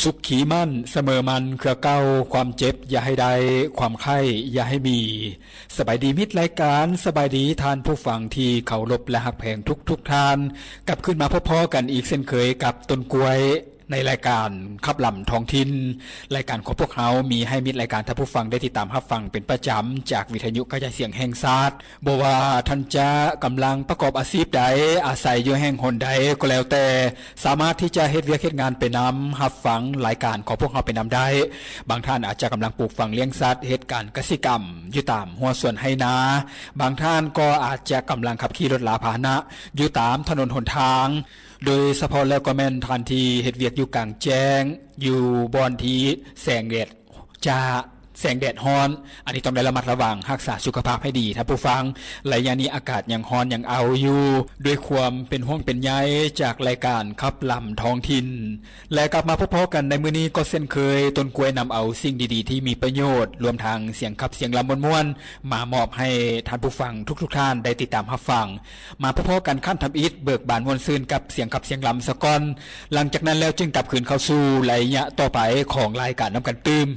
ສຸກຄີໝັ້ນສະເໝີໝັ້ນເຄືອເກົ່າ, ຄວາມເຈັບຢ່າໃຫ້ໄດ້, ຄວາມໄຂ້ຢ່າໃຫ້ມີ. ສະບາຍດີມິດລາຍການ, ສະບາຍດີທ່ານຜູ້ຟັງທີ່ເຄົາລົບ ແລະ ຮັກແພງທຸກໆທ່ານ. ກັບຄືນມາພົບພໍ້ກັນອີກເຊັ່ນເຄີຍກັບຕົ້ນກ້ວຍ ໃນລາຍການຂັບລຳທ້ອງຖິ່ນ. ລາຍການຂອງພວກເຮົາມີໃຫ້ມິດລາຍການທ່ານຜູ້ຟັງໄດ້ຕິດຕາມຮັບຟັງເປັນປະຈຳຈາກວິທະຍຸກະຈາຍສຽງແຫ່ງຊາດ. ບໍ່ວ່າທ່ານຈະກຳລັງປະກອບອາຊີບໃດ, ອາໄສຢູ່ແຫ່ງຫົນໃດກໍແລ້ວແຕ່, ສາມາດທີ່ຈະເຮັດວຽກເຮັດງານໄປນຳ, ຮັບຟັງລາຍການຂອງພວກເຮົາໄປນຳໄດ້. ບາງທ່ານອາດຈະກຳລັງປູກຝັງລ້ຽງສັດ, ເຮັດການກະສິກຳຢູ່ຕາມຮົ້ວສວນໄຮ່ນາ. ບາງທ່ານກໍອາດຈະກຳລັງຂັບຂີ່ລົດລາພາຫະນະຢູ່ຕາມຖະໜົນຫົນທາງ. ໂດຍສະເພາະແລ້ວກໍແມ່ນທ່ານທີ່ເຮັດວຽກຢູ່ກາງແຈ້ງ, ຢູ່ບ່ອນທີ່ແສງແດດຈ້າ, ແສງແດດຮ້ອນ, ອັນນີ້ຕ້ອງໄດ້ລະມັດລະວັງຮັກສາສຸຂະພາບໃຫ້ດີທ່ານຜູ້ຟັງ. ໄລຍະນີ້ອາກາດຍັງຮ້ອນຍັງເອົ້າຢູ່. ດ້ວຍຄວາມເປັນຫ່ວງເປັນໃຍຈາກລາຍການຂັບລຳທ້ອງຖິ່ນ ແລະ ກັບມາພົບພໍ້ກັນໃນມື້ນີ້ກໍເຊັ່ນເຄີຍ, ຕົ້ນກ້ວຍນຳເອົາສິ່ງດີໆທີ່ມີປະໂຫຍດ, ລວມທັງສຽງຂັບສຽງລຳມ່ວນໆ ມາມອບໃຫ້ທ່ານຜູ້ຟັງທຸກໆທ່ານໄດ້ຕິດຕາມຮັບຟັງ. ມາພົບພໍ້ກັນຂັ້ນທຳອິດ, ເບີກບານມ່ວນຊື່ນກັບສຽງຂັບສຽງລຳສາກ່ອນ. ຫຼັງຈາກນັ້ນແລ້ວຈຶ່ງກັບຄືນເຂົ້າສູ່ໄລຍະຕໍ່ໄປຂອງລາຍການນຳກັນຕື່ມ.